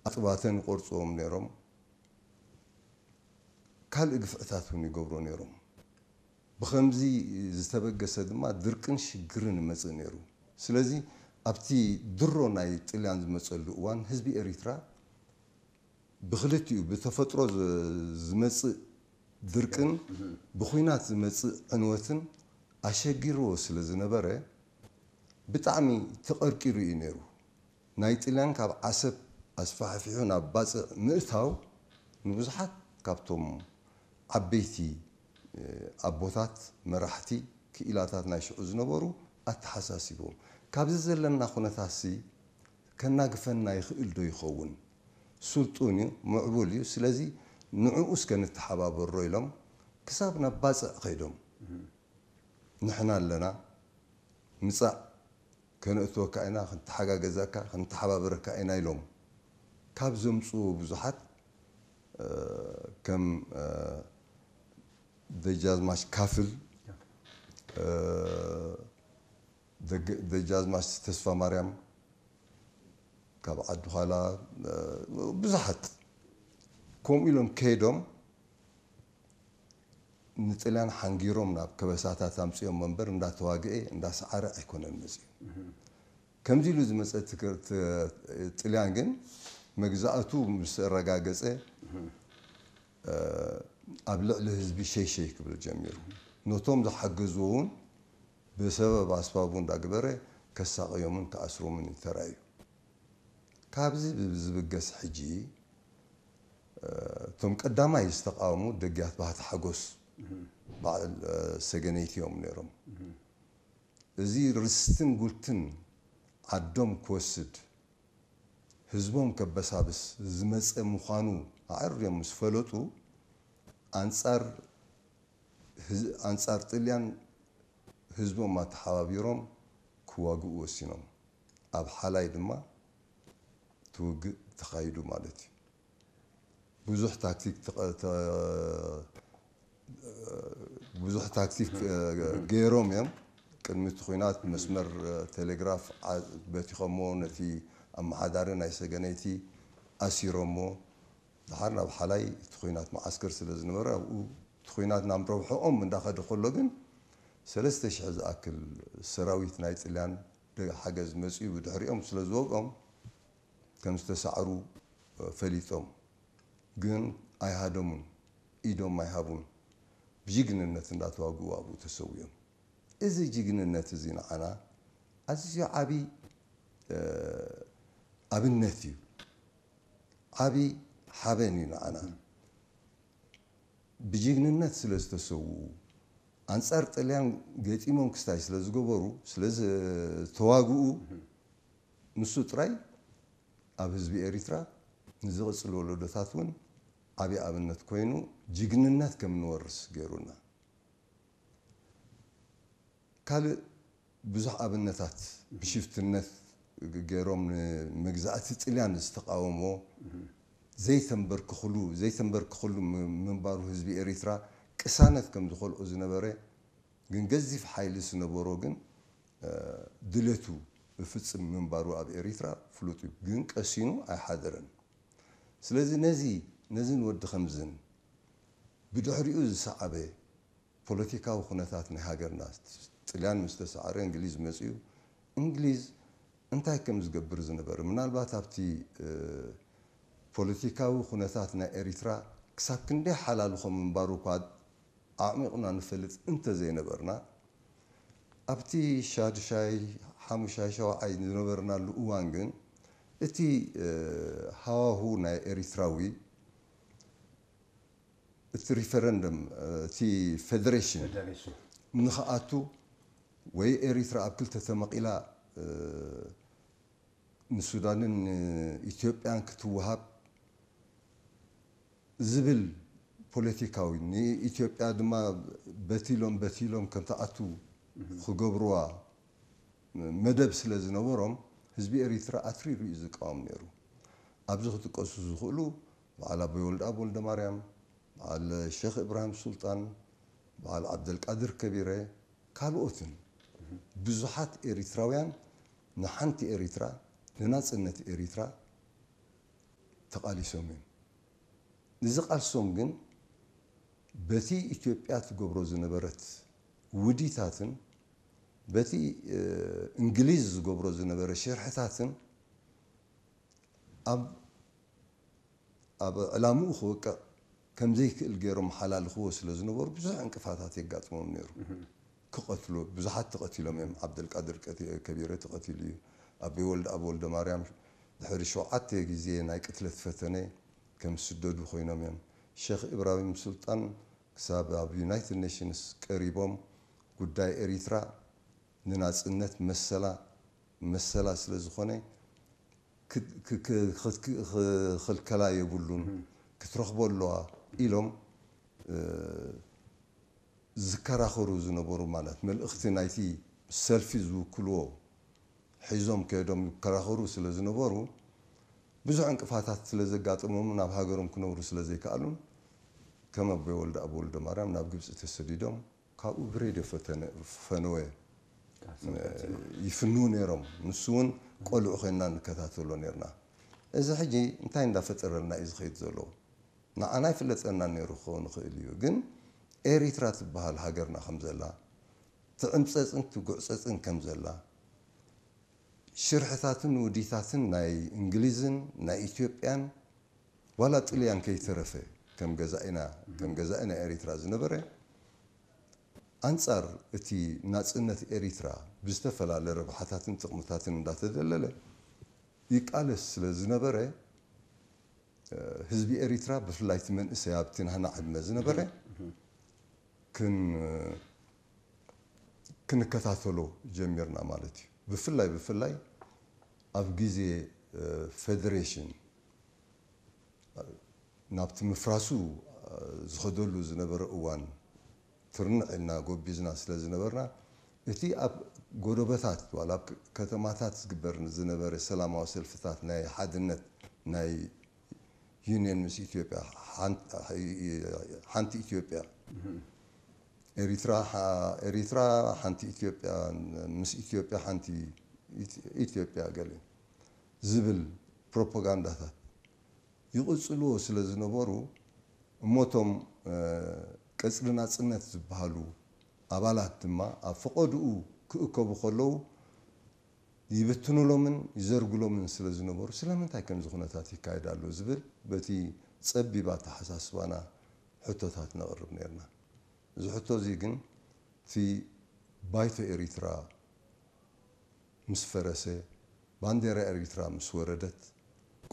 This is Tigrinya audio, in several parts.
ኣጥባተን ይቆርፅዎም ነይሮም። ካልእ ግፍዕታት እውን ይገብሮ ነይሮም። ብኸምዚ ዝተበገሰ ድማ ድርቅን ሽግርን ይመጽእ ነይሩ። ስለዚ ኣብቲ ድሮ ናይ ጥልያን ዝመጸሉ እዋን ህዝቢ ኤሪትራ ብኽልቲኡ ብተፈጥሮ ዝ- ዝመጽእ ድርቅን ብኹናት ዝመጽእ ዕንወትን ኣሸጊርዎ ስለ ዝነበረ ብጣዕሚ ተቐርቂሩ እዩ ነይሩ። ናይ ጥልያን ካብ ዓሰብ ኣስፋሕፊሑ ናብ ባጽዕ ምእታው ንብዙሓት ካብቶም ዓበይቲ ኣቦታት መራሕቲ ክኢላታት ናይ ሽዑ ዝነበሩ ኣተሓሳሲብዎም። ካብዚ ዘለና ኩነታትሲ ከናግፈና ይኽእል ዶ ይኸውን? ስልጡን እዩ፣ ምዕቡል እዩ። ስለዚ ንዕኡ እስከ ንተሓባበሮ ኢሎም ክሳብ ናብ ባጽዕ ከይዶም ንሕና ኣለና፣ ምጻእ፣ ከነእትወካ ኢና፣ ክንተሓጋገዘካ፣ ክንተሓባበረካ ኢና ኢሎም ካብ ዘምጽኡ ብዙሓት ከም ደጃዝማች ካፍል፣ ደጃዝማች ተስፋ ማርያም ካብ ዓዲ ዃላ፣ ብዙሓት ከምኡ ኢሎም ከይዶም ንጥልያን ሓንጊሮም ናብ ከበሳታት ኣምጺኦም እምበር እንዳተዋግኤ እንዳሰዓረ ኣይኮነን መጺኡ። ከምዚ ኢሉ ዝመጸ ጥልያን ግን መግዛእቱ ምስ ኣረጋገጸ ኣብ ልዕሊ ህዝቢ ሸይሸይ ክብል ጀሚሩ። ነቶም ዝሓገዝዎ እውን ብሰበብ ኣስባቡ እንዳግበረ ከሳቕዮምን ክኣስሮምን እዩ ተራእዩ። ካብዚ ዝብገስ ሕጂ እቶም ቀዳማይ ዝተቃወሙ ደጊያት ባህታ ሓጎስ በዓል ሰገነይቲ እዮም ነይሮም። እዚ ርስትን ጉልትን ዓዶም ክወስድ ህዝቦም ከበሳብስ ዝመፀ ምዃኑ ኣዕርዮም ምስ ፈለጡ ኣንፃር ኣንፃር ጥልያን ህዝቦም ኣተሓባቢሮም ክዋግኡ ወሲኖም። ኣብ ሓላይ ድማ ትውግእ ተኻይዱ ማለት እዩ። ብዙሕ ታክቲክ ብዙሕ ታክቲክ ገይሮም እዮም። ቅድሚ እቲ ኹናት መስመር ቴሌግራፍ በቲኸሞ ነቲ ኣመሓዳሪ ናይ ሰገነይቲ ኣሲሮሞ። ድሓር ናብ ሓላይ እቲ ኹናት መዓስከር ስለ ዝነበረ ኣብኡ እቲ ኹናት ናብ ረብሕኦም እንዳኸደ ከሎ ግን ሰለስተ ሽሕ ዝኣክል ሰራዊት ናይ ጥልያን ሓገዝ መፅኡ ብድሕሪኦም ስለ ዝወግኦም ከም ዝተሳዕሩ ፈሊጦም ግን ኣይሃደሙን፣ ኢዶም ኣይሃቡን። ብጅግንነት እንዳተዋግኡ ኣብኡ ተሰዊኦም። እዚ ጅግንነት እዚ ንዓና ኣዝዩ ዓቢ ኣብነት እዩ። ዓቢ ሓበን እዩ ንዓና። ብጅግንነት ስለ ዝተሰውኡ ኣንጻር ጥልያን ገጢሞም ክስታይ ስለ ዝገበሩ ስለ ዝተዋግኡ ንሱ ጥራይ ኣብ ህዝቢ ኤሪትራ ንዝቕጽል ወለዶታት እውን ዓቢ ኣብነት ኮይኑ ጅግንነት ከም ንወርስ ገይሩና። ካልእ ብዙሕ ኣብነታት ብሽፍትነት ገይሮም ንመግዛእቲ ጥልያን ዝተቃወሞ ዘይተንበርክኽሉ ዘይተንበርክኽሉ ምንባሩ ህዝቢ ኤሪትራ ቅሳነት ከም ዝኸልኦ ዝነበረ ግን ገዚፍ ሓይሊ ዝነበሮ ግን ድሌቱ ብፍጽም ምንባሩ ኣብ ኤሪትራ ፍሉጥ እዩ። ግን ቀሲኑ ኣይሓደረን። ስለዚ ነዚ ነዝን ወዲ ከምዝን ብድሕሪኡ ዝሰዓበ ፖለቲካዊ ኩነታት ናይ ሃገርና ጥልያን ምስ ተሰዓረ እንግሊዝ መጺኡ እንግሊዝ እንታይ ከም ዝገብር ዝነበረ ምናልባት ኣብቲ ፖለቲካዊ ኩነታት ናይ ኤሪትራ ክሳብ ክንደይ ሓላልኾ ምንባሩ እኳ ኣዕሚቕና ንፈልጥ እንተዘይነበርና ኣብቲ ሻድሻይ ሓሙሻይ ሸውዓይ ዝነበርናሉ እዋን ግን እቲ ሃዋሁ ናይ ኤሪትራዊ እቲ ሪፈረንደም እቲ ፌደሬሽን ንኽኣቱ ወይ ኤሪትራ ኣብ ክልተ ተመቒላ ንሱዳንን ኢትዮጵያን ክትወሃብ ዝብል ፖለቲካዊ ንኢትዮጵያ ድማ በቲሎም በቲሎም ከም ትኣቱ ክገብርዋ መደብ ስለ ዝነበሮም ህዝቢ ኤሪትራ ኣትሪሩ እዩ ዝቃወም ነይሩ። ኣብዚ ክጥቀሱ ዝኽእሉ በዓል ኣቦይ ወልደኣብ ወልደማርያም፣ በዓል ሸኽ እብራሂም ሱልጣን፣ በዓል ዓብደልቃድር ከቢረ ካልኦትን ብዙሓት ኤሪትራውያን ንሓንቲ ኤሪትራ ንናጽነት ኤሪትራ ተቓሊሶም እዮም። እዚ ቃልሶም ግን በቲ ኢትዮጵያ ትገብሮ ዝነበረት ውዲታትን በቲ እንግሊዝ ዝገብሮ ዝነበረ ሽርሕታትን ኣብ ኣብ ዕላምኡ ክወቅዕ ከም ዘይክእል ገይሮም ሓላልኽዎ ስለ ዝነበሩ ብዙሕ ዕንቅፋታት የጋጥሞም ነይሩ። ክቐትሉ ብዙሓት ተቐቲሎም እዮም። ዓብደልቃድር ከቢረ ተቐቲሉ እዩ። ኣቤ ወልደ ኣብ ወልደ ማርያም ድሕሪ ሸውዓተ ግዜ ናይ ቅትለት ፈተነ ከም ዝስደዱ ኮይኖም እዮም። ሼክ ኢብራሂም ሱልጣን ክሳብ ኣብ ዩናይትድ ኔሽንስ ቀሪቦም ጉዳይ ኤሪትራ ንናጽነት መሰላ መሰላ ስለ ዝኾነ ክኽልከላ የብሉን ክትረኽቦ ኣለዋ ኢሎም ዝከራኸሩ ዝነበሩ ማለት መልእኽቲ ናይቲ ሰልፊ ዝውክልዎ ሒዞም ከይዶም ይከራኸሩ ስለ ዝነበሩ ብዙሕ ዕንቅፋታት ስለ ዘጋጠሞም ናብ ሃገሮም ክነብሩ ስለ ዘይከኣሉን ከም ኣቦይ ወልደ ኣብ ወልደ ማርያም ናብ ግብፂ ተሰዲዶም ካብኡ ብሬድዮ ፈነወ ይፍንዉ ነይሮም። ንሱ እውን ቆልዑ ኮይንና ንከታተሎ ነርና። እዚ ሕጂ እንታይ እንዳፈጠረልና እዩ ዝኸይድ ዘሎ? ንዓና ይፍለጠና ነይሩ ክኸውን ይኽእል እዩ። ግን ኤሪትራ ትበሃል ሃገርና ከም ዘላ ትዕምፀፅን ትጉዕፀፅን ከም ዘላ ሽርሕታትን ውዲታትን ናይ እንግሊዝን ናይ ኢትዮጵያን ዋላ ጥልያን ከይተረፈ ከም ገዛኢና ከም ገዛኢ ናይ ኤሪትራ ዝነበረ ኣንጻር እቲ ናጽነት ኤሪትራ ብዝተፈላለ ረብሓታትን ጥቕምታትን እንዳተደለለ ይቃለስ ስለ ዝነበረ ህዝቢ ኤሪትራ ብፍላይ እቲ መንእሰይ ኣብቲ ናህና ዕድመ ዝነበረ ክን ክንከታተሎ ጀሚርና ማለት እዩ። ብፍላይ ብፍላይ ኣብ ግዜ ፌደሬሽን ናብቲ ምፍራሱ ዝኸደሉ ዝነበረ እዋን ትርንዕ ኢልና ጎቢዝና ስለ ዝነበርና እቲ ኣብ ጎደበታት ዋላ ኣብ ከተማታት ዝግበር ዝነበረ ሰላማዊ ሰልፍታት ናይ ሓድነት ናይ ዩኒየን ምስ ኢትዮጵያ ሓንቲ ኢትዮጵያ ኤሪትራ ኤሪትራ ሓንቲ ኢትዮጵያ ምስ ኢትዮጵያ ሓንቲ ኢትዮጵያ ገለ ዝብል ፕሮፓጋንዳታት ይቕጽልዎ ስለ ዝነበሩ እሞቶም ቀጽሪ ናጽነት ዝበሃሉ ኣባላት ድማ ኣብ ፈቐድኡ ክእከቡ ከለዉ ይብትኑሎምን ይዘርግሎምን ስለ ዝነበሩ ስለምንታይ ከምዚ ኩነታት ይካየድ ኣሎ ዝብል በቲ ጸቢብ ኣተሓሳስባና ሕቶታት ነቕርብ ነርና። እዚ ሕቶ እዚ ግን እቲ ባይቶ ኤሪትራ ምስ ፈረሰ፣ ባንዴራ ኤሪትራ ምስ ወረደት፣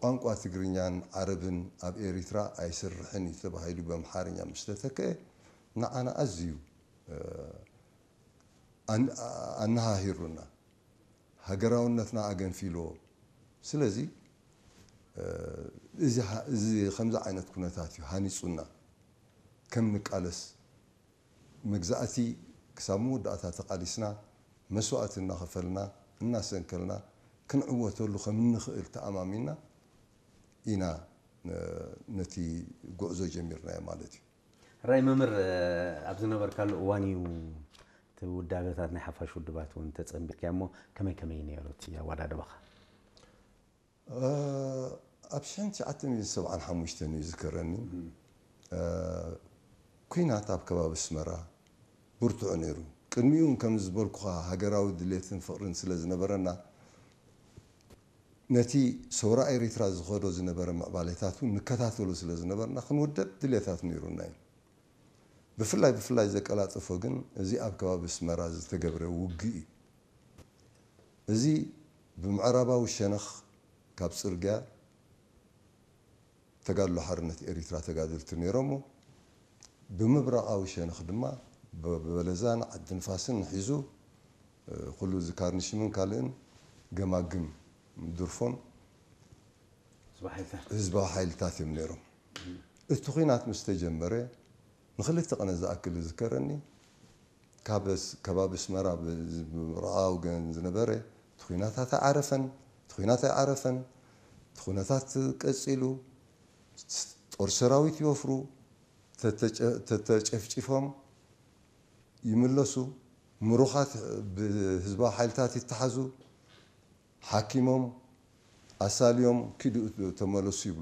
ቋንቋ ትግርኛን ዓረብን ኣብ ኤሪትራ ኣይስርሕን እዩ ተባሂሉ ብኣምሓርኛ ምስ ተተክአ ንዓና ኣዝዩ ኣነሃሂሩና። ሃገራውነትና ኣገንፊልዎ። ስለዚ እዚ ከምዚ ዓይነት ኩነታት እዩ ሃኒፁና ከም ንቃለስ መግዛእቲ ክሳብ መወዳእታ ተቓሊስና መስዋእቲ እናኸፈልና እናሰንከልና ክንዕወተሉ ከም እንኽእል ተኣማሚና ኢና ነቲ ጉዕዞ ጀሚርናዮ ማለት እዩ። ራይ መምህር ኣብ ዝነበርካሉ እዋን እዩ እቲ ውዳበታት ናይ ሓፋሽ ውድባት እውን ተፀንቢርካዮ እሞ ከመይ ከመይ ነይሩ እቲ ኣወዳድባኻ? ኣብ ሽሕን ትሽዓተ ሚእትን ሰብዓን ሓሙሽተን እዩ ዝከረኒ ኩናት ኣብ ከባቢ ኣስመራ ብርቱዕ ነይሩ። ቅድሚኡ እውን ከምዚ ዝበልኩኻ ሃገራዊ ድሌትን ፍቕርን ስለ ዝነበረና ነቲ ሰውራ ኤሪትራ ዝኸዶ ዝነበረ ምዕባሌታት እውን ንከታተሎ ስለ ዝነበርና ክንውደብ ድሌታት ነይሩና እዩ። ብፍላይ ብፍላይ ዘቀላጠፎ ግን እዚ ኣብ ከባቢ ኣስመራ ዝተገብረ ውግእ እዩ። እዚ ብምዕራባዊ ሸነኽ ካብ ጽርግያ ተጋድሎ ሓርነት ኤሪትራ ተጋደልቲ ነይሮሞ ብምብራቓዊ ሸነኽ ድማ በለዛን ዓዲ ንፋስን ሒዙ ኩሉ እዚ ካርኒሽምን ካልእን ገማግም ድርፎን ህዝባዊ ሓይልታት እዮም ነይሮም። እቲ ኹናት ምስ ተጀመረ ንክልተ ቀነ ዝኣክል ዝዝከረኒ ካብ ከባቢ ኣስመራ ብረኣ ወገን ዝነበረ እቲ ኹናታት ኣይዓረፈን፣ እቲ ኹናት ኣይዓረፈን፣ እቲ ኩነታት ቀጺሉ፣ ጦር ሰራዊት ይወፍሩ፣ ተተጨፍጪፎም ይምለሱ፣ ምሩኻት ብህዝባዊ ሓይልታት ይተሓዙ፣ ሓኪሞም ኣሳልዮም ኪዱ ተመለሱ ይብሉ።